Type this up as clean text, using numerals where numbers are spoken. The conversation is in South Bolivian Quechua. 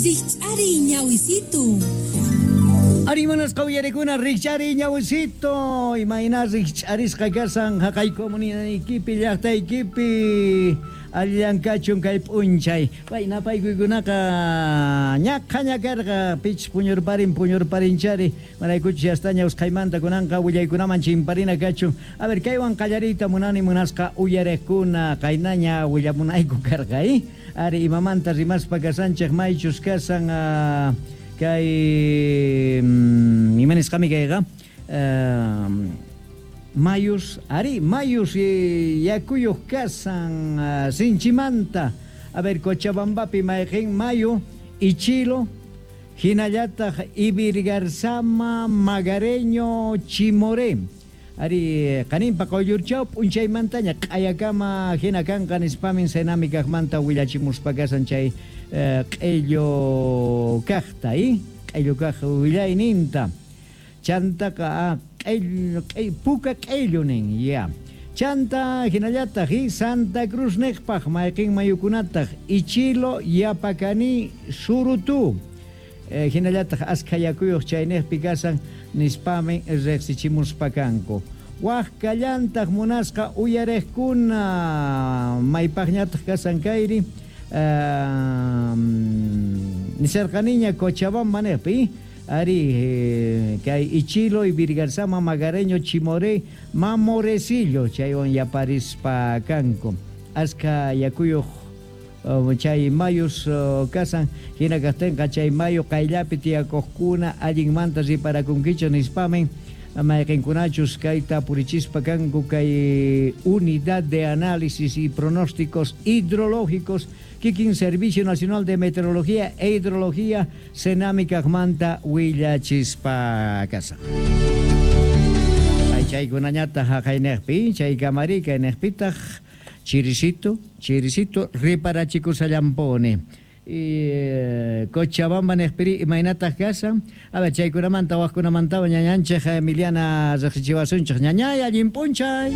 Rikch'ariy ñawisitu. Ari munasqa uyarikuna rikch'ariy ñawisito, imayna rikch'arisqa kasan haqay comunidadaykipi llaqtaykipi allillan kachun kay p'unchay. Pay napaykuykunaqa ñaqhaña karqa pichus puñurparin puñurparinchari maraykuchus yastaña usqhaymanta kunanqa willaykunaman chimparina kachun. A ver, kaywan qallariyta munani munasqa uyariqkuna qaynaña willamunayku karqa, eh? Ari imamanta rimaspa kasanchej maychus kasan kay ima nisqami kayqa mayus ari mayus yakuyuq kasan sinchimanta. A ver, Cochabambapi mayqin mayu Ichilo hinallataq Ibirgarzama Magareño Chimoré. Ari qaninpa quyllurchaw p'unchaymantaña q'ayakama hina kanqa nispamin Senami kaqmanta willachimuspa kasan chay q'illu kaqta, q'illu kaq willayninta. Chantaqa q'illu puka q'illu nin, ya. Chanta hinallataq Santa Cruz niqpaq mayqin mayukunataq Ichilo, Yapacani, Surutu. Hinallataq askha yakuyuq chayniqpi kasan nispami riqsichimuspa kanku. Waj kallantaq munasqa uyariqkuna maypaqñataq kasan kayri nisarqaniña Cochabamba niqpi ari kay Ichilo, Ibirgarzama, Magareño, Chimoré, Mamorecillo chaywan yaparispa kanku. Askha yakuyuq chay mayus kasan hina kaqtinqa chay mayu qayllapi tiyakuqkuna allinmanta riparakunkichu nispamin mayqinkunachus kayta purichispa kanku kay Unidad de Análisis y Pronósticos Hidrológicos kikin Servicio Nacional de Meteorología e Hidrología Senami kaqmanta willachispa kasan. Ay chaykunañataq haqayniqpi chay kamari kayniqpitaq chirisito, chirisito riparachikushallampuni. Y Cochabamba niqpiri imaynataq kasan. A ver, chaykunamanta waqkunamantawan ñañanchik Emiliana riqsichiwasunchik. Ñañay, allin p'unchay.